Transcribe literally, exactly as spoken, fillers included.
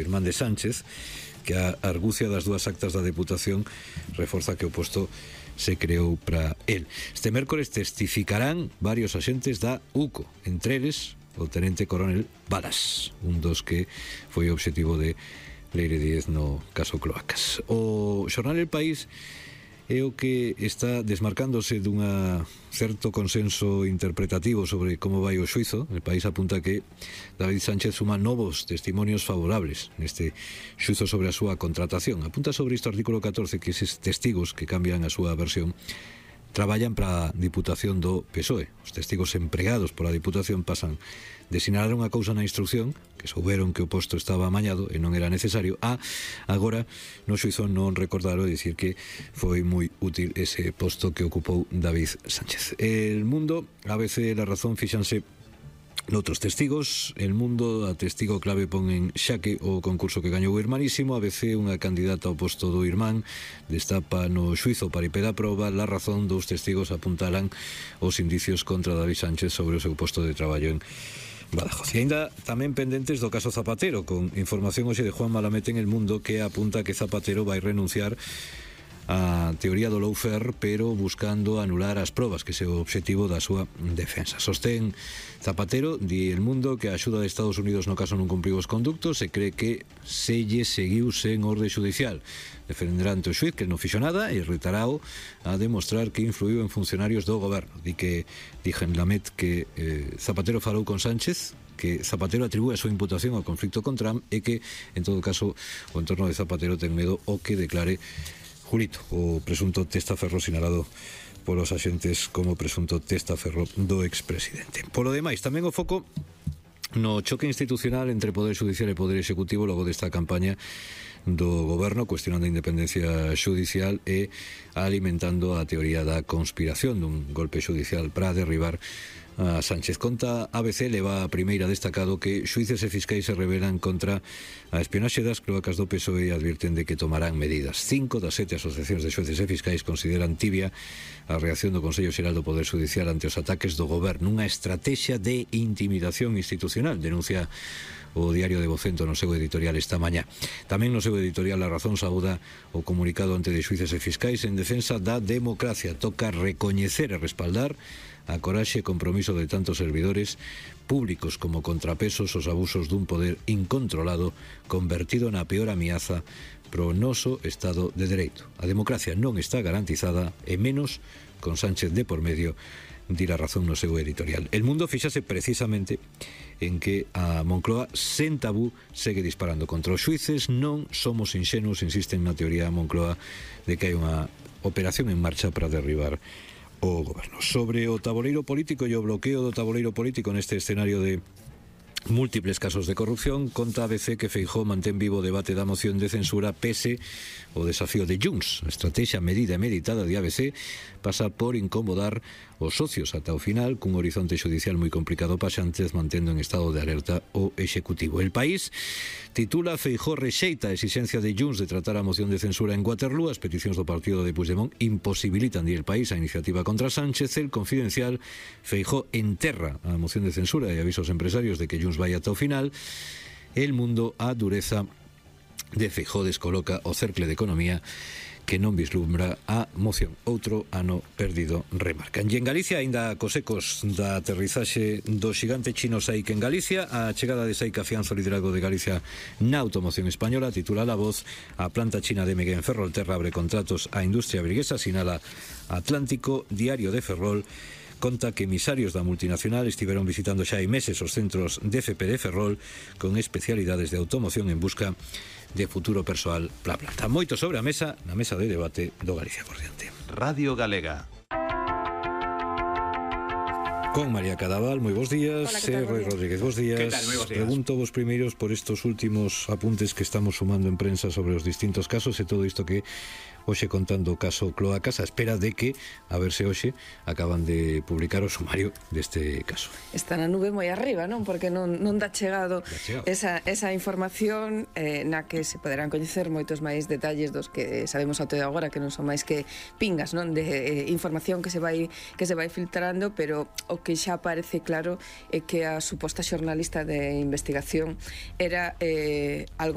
irmán de Sánchez, que a argucia das dúas actas da Deputación reforza que o posto se creou para el. Este mércores testificarán varios axentes da U C O, entre eles o tenente coronel Balas, un dos que foi o obxectivo de Leire Díez no caso Cloacas. O xornal El País é o que está desmarcándose dunha certo consenso interpretativo sobre como vai o xuizo. El País apunta que David Sánchez suma novos testimonios favorables neste xuizo sobre a súa contratación. Apunta sobre isto o artículo catorce que eses testigos que cambian a súa versión traballan para a Diputación do P S O E. Os testigos empregados pola Diputación pasan de sinalar unha cousa na instrucción, que souberon que o posto estaba amañado e non era necesario, a agora no xuizo non recordaron e dicir que foi moi útil ese posto que ocupou David Sánchez. El Mundo, A B C e La Razón fixanse noutros testigos. El Mundo, a testigo clave pon en xaque o concurso que gañou o Irmanísimo. A B C, unha candidata ao posto do irmán, destapa no xuizo para impeda a proba. La Razón, dous testigos apuntalan os indicios contra David Sánchez sobre o seu posto de traballo en Badajoz. E ainda tamén pendentes do caso Zapatero, con información hoxe de Juan Malamete en El Mundo, que apunta que Zapatero vai renunciar a teoría do lawfare, pero buscando anular as probas, que é o obxectivo da súa defensa. Sostén Zapatero, di El Mundo, que a axuda de Estados Unidos no caso non cumpriu os conductos e cree que se lle seguiu sen orde judicial. Defenderá ante o xuiz que non fixo nada e retarao a demostrar que influiu en funcionarios do goberno. Di que dixen Lamet que eh, Zapatero falou con Sánchez, que Zapatero atribúe a súa imputación ao conflicto con Trump e que, en todo caso, o entorno de Zapatero ten medo o que declare Julito, o presunto testaferro sinalado polos axentes como presunto testaferro do expresidente. Polo demais, tamén o foco no choque institucional entre Poder Judicial e Poder Executivo logo desta campaña do goberno cuestionando a independencia judicial e alimentando a teoría da conspiración dun golpe judicial para derribar a Sánchez. Conta A B C, leva a primeira destacado que xuíces e fiscais se rebelan contra a espionaxe das cloacas do P S O E e advirten de que tomarán medidas. Cinco das sete asociacións de xuíces e fiscais consideran tibia a reacción do Consello Xeral do Poder Judicial ante os ataques do goberno, unha estrategia de intimidación institucional, denuncia o Diario de Vocento no seu editorial esta mañá. Tamén no seu editorial La Razón saúda o comunicado ante de xuíces e fiscais en defensa da democracia. Toca recoñecer e respaldar a coraxe e compromiso de tantos servidores públicos como contrapesos aos abusos dun poder incontrolado convertido na peor ameaza pro noso Estado de Dereito. A democracia non está garantizada e menos con Sánchez de por medio, di La Razón no seu editorial. El Mundo fixase precisamente en que a Moncloa sen tabú segue disparando contra os xuíces. Non somos inxenuos, insisten na teoría Moncloa, de que hai unha operación en marcha para derribar o goberno. Sobre o taboleiro político e o bloqueo do taboleiro político neste escenario de múltiples casos de corrupción, conta A B C que Feijóo mantén vivo o debate da moción de censura pese o desafío de Junts. A estrategia medida e meditada de A B C pasa por incomodar os socios ata o final, cun horizonte judicial moi complicado para Sánchez, mantendo en estado de alerta o Executivo. El País titula: Feijóo rexeita a exixencia de Junts de tratar a moción de censura en Waterloo. As peticións do partido de Puigdemont imposibilitan, di El País, a iniciativa contra Sánchez. El Confidencial: Feijóo enterra a moción de censura e avisa aos empresarios de que Junts vai ata o final. El Mundo: a dureza de Feijóo descoloca o cercle de economía que non vislumbra a moción. Outro ano perdido, remarcan. E en Galicia, aínda cos ecos da aterrizaxe do xigante chino SAIC en Galicia, a chegada de SAIC afianza o liderazgo de Galicia na automoción española. Titula La Voz: a planta china de M G en Ferrolterra abre contratos á industria briguesa, sinala Atlántico. Diario de Ferrol conta que emisarios da multinacional estiveron visitando xa hai meses os centros de F P de Ferrol con especialidades de automoción en busca de futuro persoal para a planta. Moito sobre a mesa, na mesa de debate do Galicia por diante. Radio Galega. Con María Cadaval, moi bons días. Hola, que tal, Roy Rodríguez, bons días. Que tal, moi bons días. Pregunto vos primeiros por estos últimos apuntes que estamos sumando en prensa sobre os distintos casos e todo isto que hoxe contando o caso Cloacas, a espera de que, a ver se hoxe acaban de publicar o sumario deste caso. Está na nube moi arriba, non? Porque non, non dá chegado, dá chegado. Esa, esa información eh, na que se poderán coñecer moitos máis detalles dos que sabemos até agora, que non son máis que pingas, non? De eh, información que se vai que se vai filtrando, pero o que xa parece claro é que a suposta xornalista de investigación era eh, algo